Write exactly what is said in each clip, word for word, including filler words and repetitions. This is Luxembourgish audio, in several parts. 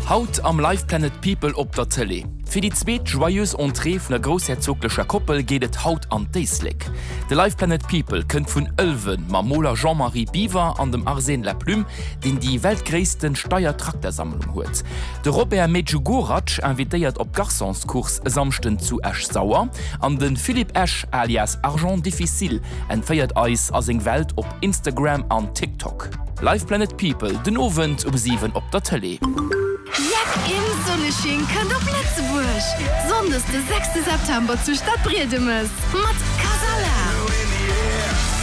Haut am Live Planet People op der Tëlee. Fir déi zweet Joyeuse Entrée vun der groussherzoglecher Koppel geet et haut an d'Éislek. De Live Planet People kënnt vun Ëlwen mam Moler Jean-Marie Biwer an dem Arsène Laplume, deen déi weltgréissten Steyr-Traktersammlung huet. De Robert Medjugorac invitéiert op d'Garçonscourse e Samschden zu Esch-Sauer an de Philippe Esch alias Argent Difficile entféiert eis a seng Welt op Instagram an TikTok. Live Planet People den Owend um siwen op der Tëlee. Jeck im Sonnesching kënnt op Lëtzebuerg! Sonndes de sechste September zu Stadbriedemes mat Kasala,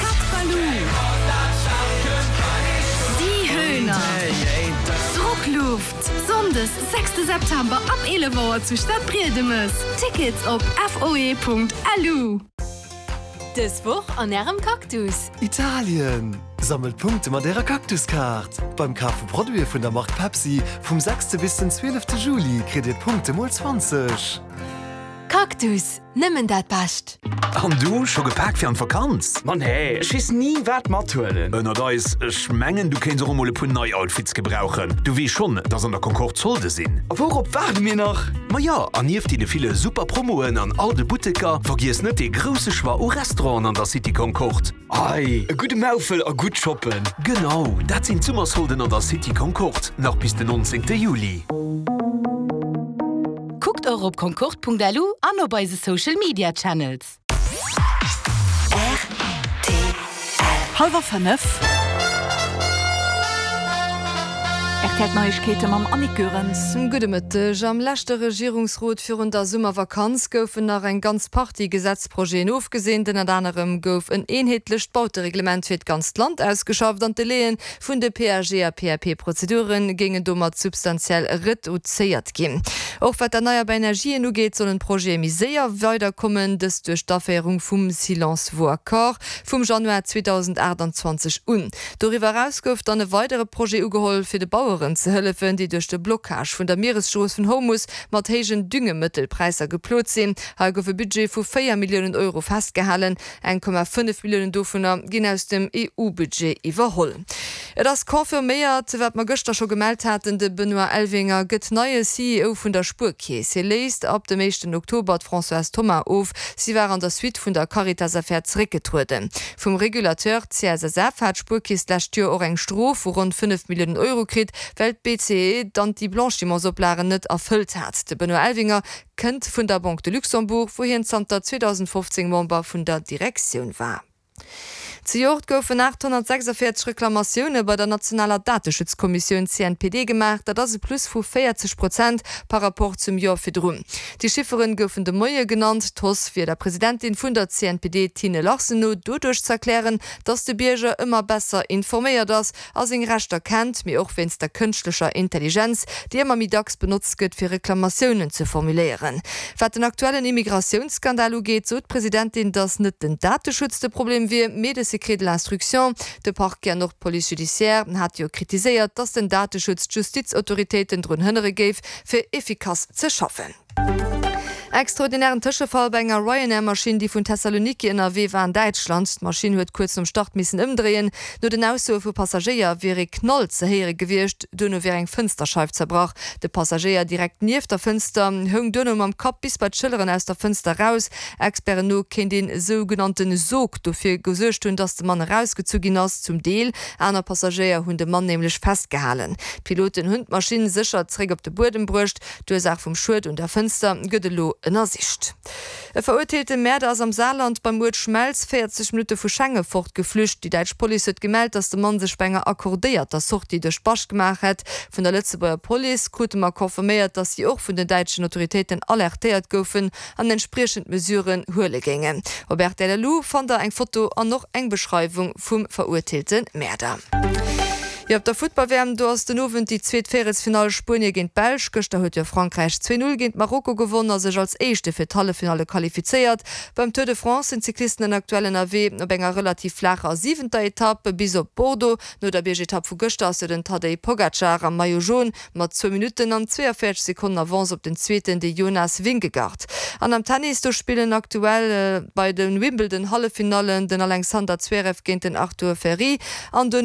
Cat Ballou, Die Höhner, Druckluft. Sonndes sechste September ab eelef Auer zu Stadbriedemes. Tickets op foe.lu. Dës Woch an Ärem Cactus. Italien! Sammelt Punkte mat Ärer Cactus-Kaart. Beim Kaf vu Produite vun der Mark Pepsi vum sechste bis den zwielefte Juli kritt Dir Punkte mol zwanzeg. Cactus, nëmmen dat Bescht! An du, scho gepaakt fir an d'Vakanz? Ma nee, ech weess ni wat mathuelen. Ënnert eis, ech mengen du kéints och emol e puer nei Outfits gebrauchen. Du weess schonn, dass an der Concorde Solde sinn. A wourop waarde mir nach? Ma ja, an nieft deene ville super Promoen an all de Butteker, vergiess net dee grousse Choix u Restauranten an der City Concorde. Ei, e gudde Maufel a gutt shoppen. Genau, dat sinn d'Summersolden an der City Concorde, nach bis den nonzéngte Juli. Kuckt och op concorde.lu an op eise Social Media Channels. Hallwer fënnef. R T L Neiegkeete mam Annick Goerens. Gudde Mëtteg. Am leschte Regierungsrot virun der Summervakanz goufen nach eng ganz Partie Gesetzprojeten ofgeseent. Ënnert anerem gouf en eenheetlecht Bautereglement fir d'ganzt Land ausgeschafft an d'Delaie vun de P A G a P A P-Prozedure géingen domat substantiell reduzéiert ginn. Och wat d'erneierbar Energien ugeet, sollen d'Projete méi séier weiderkommen, dëst duerch d'Aféierung vum Silence vaut accord vum Januar zweedausendachtanzwanzeg un. Doriwwer eraus gouf dann e weidere Projet ugeholl, fir de Baueren ze hëllefen, déi duerch de Blockage vun der Mieresstrooss vun Hormus mat héijen Düngemëttelpräisser geplot sinn. Hei gouf e Budget vu véier Milliounen Euro festgehalen, eng Komma fënnef Milliounen dovunner ginn aus dem E U-Budget iwwerholl. Et ass confirméiert, wat mer gëschter scho gemellt haten, de Benoît Elvinger gëtt neie C E O vun der Spuerkeess. Hie léist ab dem éischten Oktober d'Françoise Thomas of. Si war an der Suite vun der Caritas-Affär zeréckgetrueden. Vum Regulateur C S S F hat d'Spuerkeess d'lescht Joer och eng Strof vu ronn fënnef Milliounen Euro kritt, well d'B C E d'Anti-Blanchimentsoplagen net erfëllt hat. De Benoît Elvinger kënnt vun der Banque de Luxembourg, wou hien zanter zweedausendfofzéng Member vun der Direktioun war. Zejoert goufen achthonnertsechsundvierzeg Reklamatioune bei der nationaler Dateschutzkommissioun C N P D gemaach. Dat ass e Plus vu véierzeg Prozent par rapport zum Joer virdrun. Déi Chifferen goufen de Moie genannt. D'Hausse wier der Presidentin vun der C N P D Tine Larsen no doduerch ze erklären, datt de Bierger ëmmer besser informéiert ass a seng Rechter kennt, mee och wéinst der kënschtlecher Intelligenz, déi ëmmer méi dacks benotzt gëtt, fir Reklamatiounen ze formuléieren. Wat den aktuellen Immigratiounsskandal ugeet, sot d'Presidentin, datt net den Dateschutz de Problem wier, mee de Secret de l'instruction. De Parquet an och d'Police judiciaire hat jo kritiséiert, datt den Dateschutz d'Justizautoritéiten drun hënnere géif, fir effikass ze schaffen. Extraordinären Tëschefall bei enger Ryanair-Maschinn, déi vun Thessaloniki ënnerwee war an Däitschland. D'Maschinn huet kuerz nom Start missen ëmdréien. No den Aussoe vu Passagéier wier e Knall ze héiere gewiescht. Duerno wier eng Fënsterscheif zerbrach. De Passagéier direkt nieft der Fënster houng duerno mam Kapp bis bei d'Schëlleren aus der Fënster raus. Experten no kéint een sougenannte Sog dofir gesuergt hunn, datt de Mann erausgezu ginn ass. Zum Deel aner Passagéier hunn de Mann nämlech festgehalen. D'Piloten hunn d'Maschinn sécher zeréck op de Buedem bruecht. D'Ursaach vum Schued un der Fënster gëtt elo ënnersicht. E verurteelte Mäerder ass am Saarland beim Uert Schmelz véierzeg Minutte vu Schengen fortgeflücht. Déi däitsch Police huet gemellt, datt de Mann sech bei enger accordéierter Sortie duerch d'Bascht gemaach hätt. Vun der Lëtzebuerger Police krute mer confirméiert, datt si och vun den däitschen Autoritéiten alertéiert goufen an entspriechend Mesuren huele géingen. Op R T L L U fannt der eng Foto an och eng Beschreiwung vum verurteelte Mäerder. Jo, op der Futtball-W M, do ass den Owend déi zweet Véierelsfinall Spuenie géint d'Belsch. Gëschter huet jo Frankräich zwee null géint Marokko gewonn a sech als Éischte fir d'Halleffinale qualifizéiert. Beim Tour de France sinn d'Cyclisten aktuell ënnerwee op enger relativ flaacher siwenter Etapp bis op Bordeaux. No der Biergetapp vu gëschter ass jo den Tadej Pogacar am Maillot jaune mat zwou Minutten an zwéienvéierzeg Sekonnen Avance op den zweeten, de Jonas Vingegaard. An am Tennis, do spillen aktuell bei den Wimbledon Halleffinallen den Alexander Zverev géint den Arthur Fery an duerno